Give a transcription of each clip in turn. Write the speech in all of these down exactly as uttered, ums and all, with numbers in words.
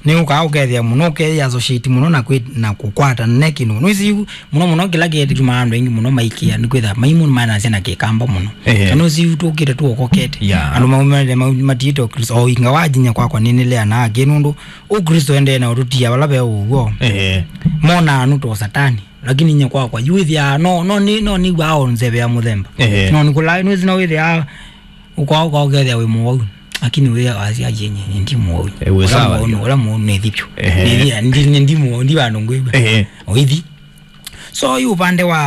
Nĩ ũkaa ũkethĩa mũno, ũkethĩa associate mũno na kwĩ, na kũkwata ne kĩndũ. Nĩwĩsĩ yu, mũno mũno kĩla kĩetĩkĩmaa andũ aingĩ mũno maikĩa, nĩ kwĩtha maimũ manasya na kĩkamba mũno. Ehe. Na nĩwĩsĩ yu tũkĩte tuokokete. Yeah. Andũ maumĩte ma-, matiĩte Ũkristo, o inga wajinya kwakwa nĩnĩleanaa kĩ nũndũ Ũkristo endee na ũtũtia vala ve ũw'o. Ehe. Monaa nũto satani, lakini nye kwakwa, yu wĩthĩaa, no, no nĩ, no nĩw'aa o nzeve ya mũthemba. Ehe. No nĩkũlaa, nĩwĩsĩ no wĩthĩaa, Ũka, ũka ũkethĩa wĩ mũwau. Lakini wĩ asya yenye, ndi mũwau. Eh, wĩ sawa, mũwau, ũla mũwau nĩ thipyo. Ehe. Nĩ, ndi, ndi mũwau, ndi vandũ ngwĩw'a. Ehe. Oithi. So, yu upande wa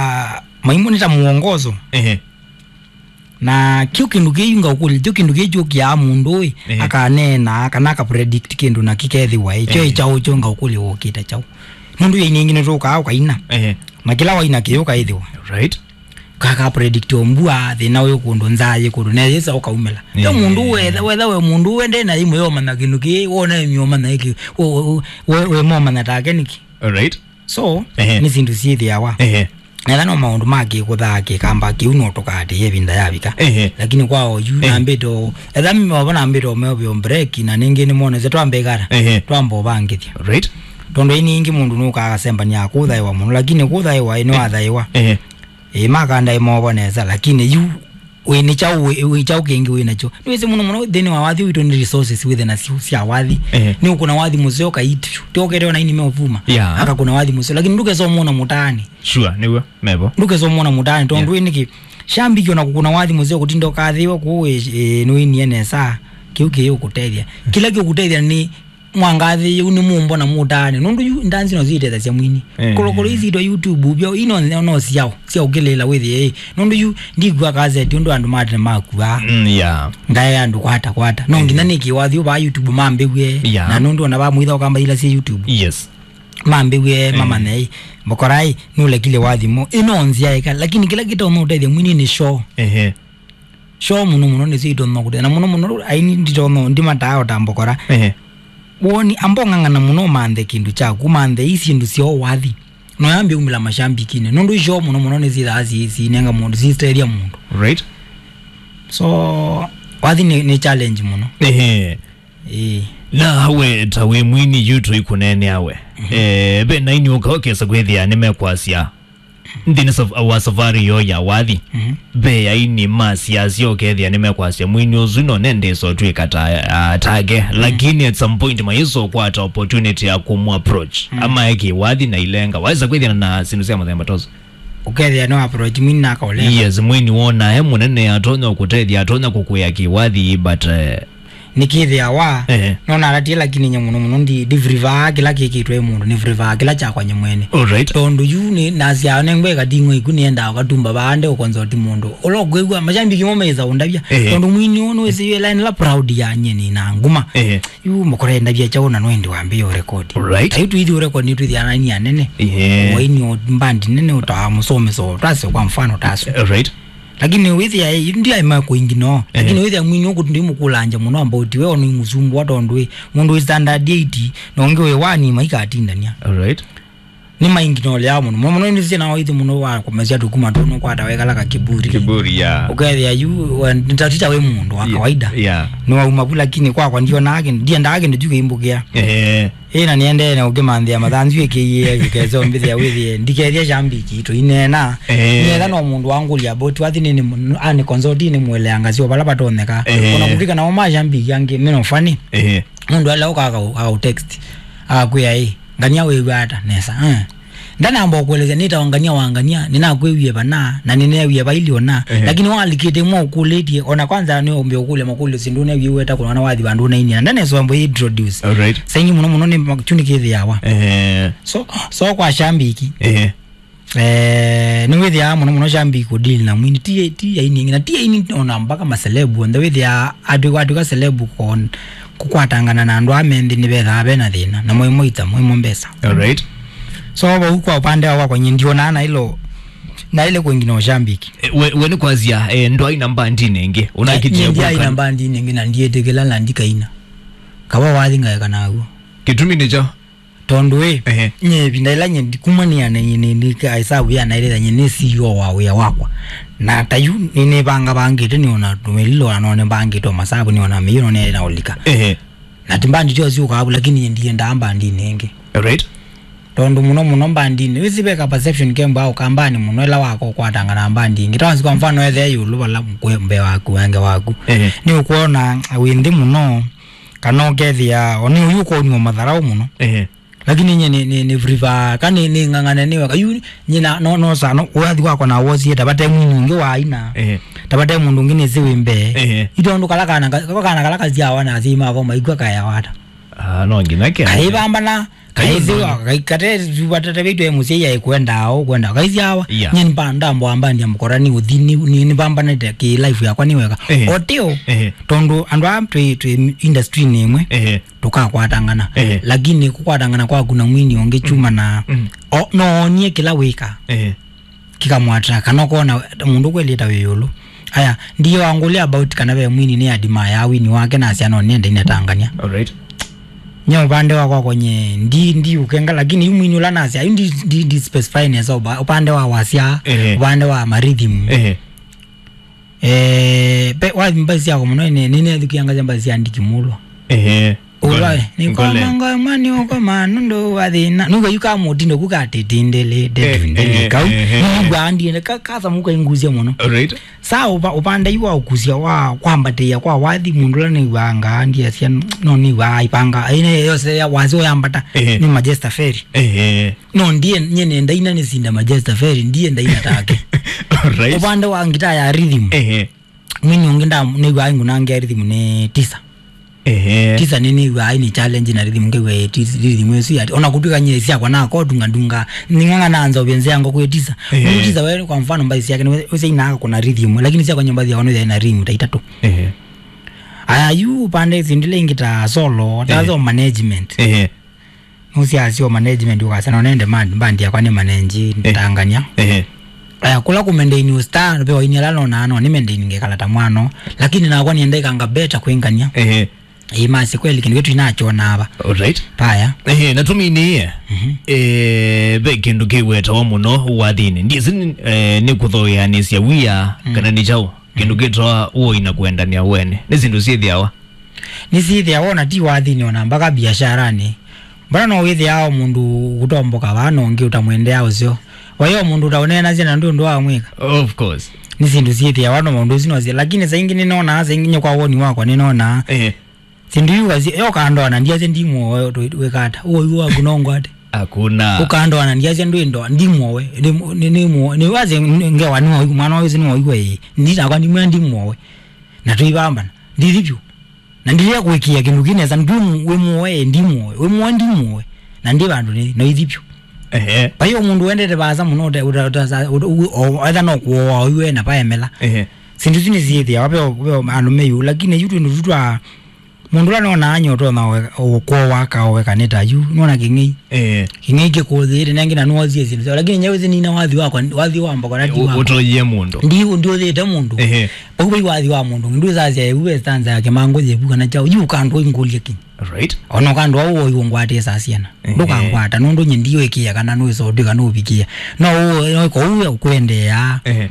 maimũ nĩ ta mwongozo. Ehe. Na kĩu kĩndũ kĩu ngaũkũlya, kĩu kĩndũ kĩu kyũkĩaa mũndũ ĩ, ehe, akaneena, kana akapredict kĩndũ na kĩkethĩwa, ĩ, kyo, ehe, ĩ kyaũ kyo ngaũkũlya ũkĩte kyaũ. Nũndũ ĩ nyingĩ nĩtũkaa ũkaina. Ehe. Na kĩla waina kĩyũ kaĩthĩwa. Right. Kaka predict o mbua, thĩna wĩ kũndũ, nzaa yĩ kũndũ, na yĩsa ũkaumĩla. Yo, eh, mũndũ wetha, wetha we mũndũ wende na imwe yomanya kĩndũ kĩ, wona ĩmwe yomanya ĩkĩ, we, we, we, we momanya take nĩkĩ. Alright. So, ehe, nĩ syĩndũ syĩthĩawa. Ehe. Netha no maũndũ ma kĩkũthaa kĩkamba kĩu no tũkaatĩĩa ĩvinda yavika. Ehe. Lakini kwa oyu, ehe, nambĩte o, etha mova nambĩte o meo vyo break, na nĩngĩ nĩmonese twambe ĩkata. Ehe. Twamba ũvangĩthya. Right. Tondũ ĩni ĩngĩ mũndũ nũkaa akasembania kũthaĩwa mũno, lakini kũthaĩwa ĩ nĩwathaiwa. Ehe. Ĩĩ, makandae mova nesa, lakini yu wĩ nĩ kyaũ, wĩ, wĩ kyaũ kĩngĩ wĩ nakyo? Nĩwĩsĩ mũno mũno nthĩnĩ wa wathi witũ nĩ resources wĩthe nasyo sya wathi. Ehe. Nĩ ũkũna wathi mũseo kaitũ. Tiokete ona ini meũvuma. Yeah. Akakũna wathi mũseo, lakini ndũkesa ũmwona mũtaani. Sure, nĩw'o, mevo. Ndũkesa ũmwona mũtaani, tondũ, yeah, wĩ nĩkĩ? Shambiki ona kũkũna wathi mũseo kũtinda ũkathĩwa kũu, ĩ, ĩ, nĩwĩnie nesa. Kĩu kĩĩ ũkũtethya. Kĩla kĩũkũtethya nĩ mwangathĩ yĩu nĩ mũmbo na mũtaane. Nũndũ yu ndanzi no syĩtethasya mwini. Eh. Kolokolo izi itwa YouTube byo ino no syao, sya ũkĩlĩla wĩthĩe. Nũndũ yu ndikw'a kaseti ũndũ andũ matene makuaa. Mm, yeah. Ndae andũ kwata kwata. No, eh, nginya nĩkĩ wathi ũvaa YouTube mambĩw'e. Yeah. Na nũndũ ona vamwĩtha ũkamba ila syĩ YouTube. Yes. Mambĩw'e, eh, mamanye, ĩ, mbokorai, nũlekile wathi mo. Ino nzia eka, lakini kĩla kĩtonya ũtethya mwini nĩ show. Ehe. Show mũno mũno nĩsyo itonya kũte-, na mũno mũno aini nditonya ndimataa o ta mbokora. Ehe. Woni, amba ũng'ang'ana mũno ũmanthe kĩndũ kyaku, ũmanthe ii syĩndũ syoo wathi. No yambie umĩla mashambikinĩ. Nũndũ show mũno mũno nĩsyĩthaa si-, sinenga mũndũ, sistethya mũndũ. Right. So, wathi nĩ, nĩ challenge mũno. Ehe. Ĩĩ. Na we ta wĩ mwini yu tũikũneenea we. Mhm. Eh, ve na ini ũka ũkesa kwĩthĩa nĩmekwasya. Nthĩnĩ saf-, wa safari yoo ya wathi, mhm, ve aini ma siasa ũkethĩa nĩmekwasya mwini ũsu no nendesa ũtw'ĩka ta, ah, take, mhm, lakini at some point mayĩsa ũkwata opportunity ya kũmũ approach. Mhm. Amae kĩwathi na ilenga. Waĩsa kwĩthĩana na syĩndũ sya mũthemba ta ũsu? Ũkethĩa no approach mwini na akaũlenga. Yes, mwini wona e mũnene atonya kũtethya, atonya kũkũĩa kĩwathi, but, eh, nĩkĩthĩawa, ehe, no natatie, lakini nye mũno mũno ndi, ndivurivaa kĩla kĩkĩtwe mũndũ, nĩvurivaa kĩla kyakwa nye mwene. Alright. Tondũ yu nĩ, nasya nengwe ĩkating'o iku nĩendaa ũkatumba vaa nde ũkonzoti mũndũ. Ũla ũkwĩw'a, mashambiki mo mesa ũndavya. Ehe. Tondũ mwini ũũ nĩwĩsĩ yu ĩla nĩla proud ya nye nĩ na nguma. Ehe. Yu mũkora endavya kyaũ na nwendi wambĩĩa ũrekodi. Alright. Ayu tũithi ũrekodi nĩtwĩthĩana ni anene. Ehe. Waini o mbandi nene ũtaa mũsomeso, tase kwa mfano taso. Alright. Lakini wĩthĩa, eh, ndiaĩ ma kũingi no. Ehe. Lakini wĩthĩa mwini ũkũ ndimũkũlanja mũno about we, ono imũsumbũa tondũ, eh, mũndũ wĩ standard eight, na ũngĩ wĩ one maikatindania. Alright. Nĩ maingi no lea mũno. Mũno, mũno nĩ sina waithi mũno wa kũmesya tũkuma tũnũ kwata wekala ka kiburi. Kiburi, yeah. Ũkethĩa yu, we, nĩtatita wĩ mũndũ wa, yeah, kawaida. Yeah. Nĩ wauma vu, lakini kwakwa ndionaa kĩndũ, ndiendaa kĩndũ kyu kĩimbũkĩa. Ehe. Ĩ, na nĩendee na ũkĩmanthĩa mathanzu ĩkĩie, ĩkese ũmbĩthĩa wĩthĩe, ndikethya shambiki, tũineena. Eh. Nĩetha no mũndũ wangũlya about wathi nĩ, nĩ, ani consult nĩ mweleanga sio vala vatonyeka. Eh. Ona kũvika nao ma shambiki angĩ, meno funny. Eh. Mũndũ ala ũka aka, aka text, akakwĩa, "Ĩ, ngania wĩw'a ata?" Nesa, eh. Ndanamba ũkũelesya nĩtawa ngania wa ngania, nĩnakwĩwie vana, na nĩneewie vaili ona. Eh. Lakini walikĩte mwa ũkũlĩtie, ona kwanza nĩ ũmbe ũkũlya makũlyo syĩndũ neewie weta kũnona wathi vandũ ũnainia. Ndanesa wambo introduce. Alright. Saingi mũno mũno nĩ ma-, kyu nĩkĩthĩawa. Eh. So, so kwa shambiki. Ehe. Eh, nĩwĩthĩaa mũno mũno shambiki kũdeal na mwini. Ti, ti aini angĩ, na ti aini ona mpaka maselebu. Onthe wĩthĩaa atwĩka, atwĩka selebu kon-, kũkwatangana na andũ ame nthĩ nĩvethaa ve na thĩna. Na mwe moita, mwe mo mbesa. Alright. So, vau kwa upande wa kwakwa nye ndionaa na ilo, na ile kwengine shambiki. Eh, we, we nĩ kwasya, eh, ndwaina mbandinĩ ĩngĩ. Ũnakitie. Nye ndiaina mbandinĩ ĩngĩ na ndiĩtĩkĩla na ndikaina. Kava wathi ngaeka naw'o. Kĩtumi nĩkyo? Tondũ ĩ, ehe, nye ĩvinda ĩla nye ndi-, kuma nĩane, nĩ, nĩ, nĩ, ĩsavu yanaĩlĩtha nye nĩ C E O wa wĩa wakwa. Na ta yu, nĩ, nĩvangavangĩte, nĩona tũmĩlilo, na none mbangĩte o masavu, nĩona mĩio, none na ũlika. Ehe. Na ti mbandi tyo syũkaa vu, lakini ndiendaa mbandinĩ ĩngĩ. Right. Tondũ mũno mũno mbandinĩ, wĩsĩ veka perception kembwa ũkambanĩ mũno ĩla wako ũkwatanga na mbandi ĩngĩ. Tawanzi kwa mfano ethe ĩũlũ vala kwĩ mbee waku, wenge waku. Ehe. Nĩ ũkwona wĩ nthĩ mũno, kana ũkethĩa, o nĩ ũyu ũkwonwa matharaũ mũno. Ehe. Lakini nye nĩ, nĩ, nĩ friva, ka nĩ, nĩ ng'ang'ane nĩ weka. Yu, nye na, no, no, sa, no, wathi wakwa na wosie, tabate mwini ũngĩ wa aina. Ehe. Tabate mũndũ ũngĩ nĩsĩ wĩ mbee. Ehe. Itondũ kala kana, ka-, kana kala kasyawa na asyai makwa maigua kaya wata. Ah, no nginya ke. Kaivambana, kaithiwa, kai-, kate, tubatete vitu ya mũsyai aikwenda, au kwenda. Kaisyawa, yeah, nye nipanda mbwamba ndia mkora nĩ ũthi, nĩ, nĩ, nipambanĩte ki life yakwa nĩ weka. Ehe. Oteo, ehe, tondũ andũ aa twĩ, twĩ industry nĩ ĩmwe. Ehe. Tũkakwatangana. Ehe. Lakini kũkwatangana kwaku na mwini ũngĩ kyuma na, mm, o, noonie kĩla wĩka. Ehe. Kĩkamwata, kana ũkona mũndũ kwelĩta wĩ ĩũlũ. Aya, ndiye wangũlya about kana ve mwini nĩ admire wini wake na asya no nĩenda inetangania. Alright. Nye ũpande wakwa konye, ndi, ndi ũkenga, lakini yu mwini ũla nasya, yu ndi, ndi, ndi specify nesa ũpa-, ũpande wa wasya, ehe, ũpande wa marhythm. Ehe. Eh, pe, wathi mbathi syakwa mũno, nĩ, nĩ, nĩnethũkiangasya mbathi sya Ndiki Mulwa. Ehe. Ũla, ngole, nĩ ngole. Kwa mango mani ũko manũndũ wa thĩna. Nũga yu ka mũtindo ku katĩtindĩlĩ, eh, ndetindĩlĩ, eh, kau. Eh, eh, nĩw'aa ndiene, ka, kasamuka ingusya mũno. Alright. Sa ũpa-, ũpande yu wa ũkusya wa kwambatĩĩa kwa wathi, mũndũ ũla nĩw'aa ngaa ndiasya, no nĩw'aa ipanga. Ine yose ya wazi ũyambata, ehe, nĩ Majesta Ferry. Ehe. No, ndiye, nye nenda ina nĩsinda Majesta Ferry, ndiye ndaina take. Alright. Ũpande wa ngitaa ya rhythm. Ehe. Mwini ũngĩ nda, nĩw'aa ngunangia rhythm nĩ Tisa. Ehe. Tisa nĩ nĩw'aa nĩ challenge na rhythm, ngew'a ĩ tis-, rhythm ĩsu ya, ona kũtw'ĩka nye syakwa na ko dunga dunga, ning'ang'a na nzovye nzĩa ngo kwĩ Tisa. Ehe. Nĩ Tisa we, kwa mfano, mbathi syake nĩ we, ũsya inaka kuna rhythm, lakini syakwa nye mbathi yakwa nĩ na rhythm ta itatũ. Ehe. Aya, yu ũpande sindile ingi ta solo, ta, ehe, so management. Ehe. Nũsyaasya o management ũkasya, no nende man-, band yakwa nĩ manage, eh, ntangania. Ehe. Aya, kũla kũmendeini star, ve waini ala nonaa, no nĩ mendeini ngekala ta mwano, lakini nakwa nĩenda ikanga better kwĩngania. Ehe. Ĩĩ, masĩ kweli, kĩndũ kĩtu inakyona ava. Alright. Paya. Ehe, na tũminiie. Mhm. Eh, ve kĩndũ kĩwetawa mũno wathinĩ. Ndiĩsĩ nĩ, eh, nĩ kũthooeanĩsya wia, mm, kana nĩ kyaũ. Kĩndũ kĩtawa ũoi na kũendanĩa wene. Nĩ syĩndũ syĩthĩawa. Nĩsyĩthĩawa ona ti wathinĩ, ona mbaka biasharanĩ. Mbona no wĩthĩaa o mũndũ ũtomboka vaa na ũngĩ ũtamwendeaa ũseo? Vai o mũndũ ũtaũneenasya na ndwĩ ũndũ wa mwĩka? Of course. Nĩ syĩndũ syĩthĩawa no maũndũ asu no syĩ, lakini saa ingĩ nĩnonaa, saa ingĩ nye kwa woni wakwa nĩnonaa. Eh. Syĩndũ iu kasi, yo kandoa na ndiasya ndi mũoe, tũ-, wĩka ata? Ũoi waku no ngwate? Hakuna. Ũkandoa na ndiasya ndwĩ ndoa, ndi mũoe. Nĩ, nĩ, nĩ mũoe. Nĩ wase ngewa nĩ waigua, mwana wa wĩsĩ nĩ waigua ĩĩ. Ndi nakwa ndi mwĩa ndi mũoe. Na tũivambana. Ndithi vyũ. Na ndilea kũĩkĩĩa kĩndũ kĩ nesa, ndwĩ mu-, wĩ mũoe, ndi mũoe, wĩ mũoe, ndi mũoe. Na ndi vandũ nĩ, no ithi vyũ. Ehe. Vai o mũndũ wendete vaasa mũno, ũte-, ũte-, ũte-, ũte-, u-, o, etha no kũoa oyu ena paemela. Ehe. Syĩndũ isu nĩsyĩthĩawa, ve o, ve o andũ me yu, lakini yu twĩndũ tu twa, mũndũ ũla nona anyotonya ũkũoa kaowe kanĩ ta yu, nona kĩng'ei. Ehe. Kĩng'ei kĩkũthĩĩte, nengĩ na nũosie syĩndũ syao, lakini nyewe sinina wathi wakwa, wathi wa mbokora ti wakwa. Ũtoyie mũndũ. Ndi, ndiũthĩte mũndũ. Ehe. Vau vai wathi wa mũndũ, ndwĩsasya evu ve stanza ya kĩmangũ yevu kana kyaũ, yu ũkandũ ingũlye kĩ. Right. Ona ũkandũ au ũyu ngwatĩsaa syana. Ehe. Ndũkangwata, nũndũ nye ndiũĩkĩĩa kana nũĩsotwĩ kana ũvikĩĩa. No ũ-, no ĩko ũu ũkwendeea. Ehe.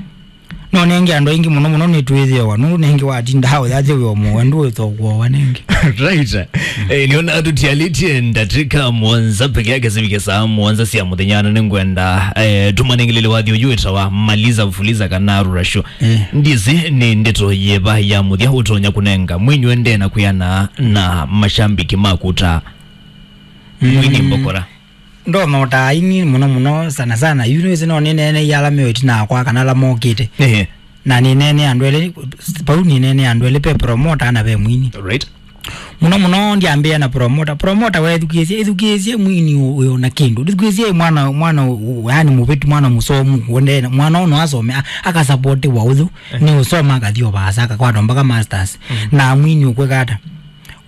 No nenge andũ aingĩ mũno mũno nĩtwĩthĩawa, nũndũ nenge watinda hau yathe wĩ o mũwe, ndũĩtha ũkũowa nenge. Right. Eh, nĩona tũtialĩtye ndatĩka mũonza peke yake sivike saa mũonza sya mũthenya, na nĩngwenda, eh, tũmanengelele wathi ũyu wĩtawa Maliza Fuliza kana Rura Show. Eh. Ndiĩsĩ nĩ ndeto yĩva ya mũthya ũtonya kũnenga mwini ũendee na kwĩana na mashambiki maku ta mwini mbokora. Ndonotaa ini mũno mũno sana sana. Yu nĩwĩsĩ no nĩneeneie ala me ĩtina wakwa kana ala mokĩte. Ehe. Na nĩneenea andũ elĩ, vau nĩneenea andũ elĩ, ve promoter na ve mwini. Right. Mũno mũno ndyambĩĩa na promoter. Promoter wethukĩĩsye, ĩthukĩĩsye mwini ũ-, ũyũ na kĩndũ. Ndĩthukĩĩsye mwana, mwana ũ-, ũ-, yani mũvĩtu, mwana mũsomu, ũndene, mwana ũno asome, a-, akasapotiwa ũthũ, eh, nĩ ũsoma akathi o vaasa, akakwata mpaka masters. Mm. Na mwini ũkwĩka ata?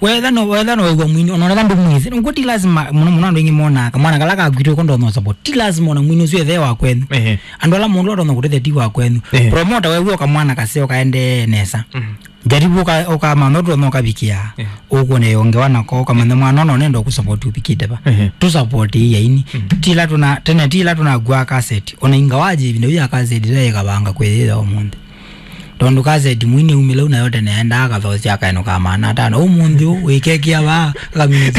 Wetha no, wetha no wĩw'a mwini, ona wetha ndũmwĩsĩ. Nũkw'o ti lazima, mũno mũno andũ aingĩ monaa kamwana kala kakwitũ ko ndonya support. Ti lazima ona mwini ũsu ethee wa kwenyu. Ehe. Andũ ala mũndũ ũla ũtonya kũtethya ti wa kwenyu. Ehe. Promoter wew'a o kamwana kaseo kaendee nesa. Mhm. Jaribu ũka-, ũkamanya ũtonya ũkavikĩa. Ehe. Ũkwona yongewa nako, ũkamanya mwana ona ũnenda kũsupport ũvikĩte va. Ehe. Tũsupport ii aini. Mhm. Ti ila tũna, tene ti ila tũnakuaa cassette. Ona ingawaje ĩvinda yu ya cassette ila ĩkavanga kwĩyĩtha ũmũnthĩ. Tondũ kaseti mwini umĩlau nayo tene endaa kathosi akaenũka maana atano. Ũmũnthĩ ũũ wĩkekia vaa community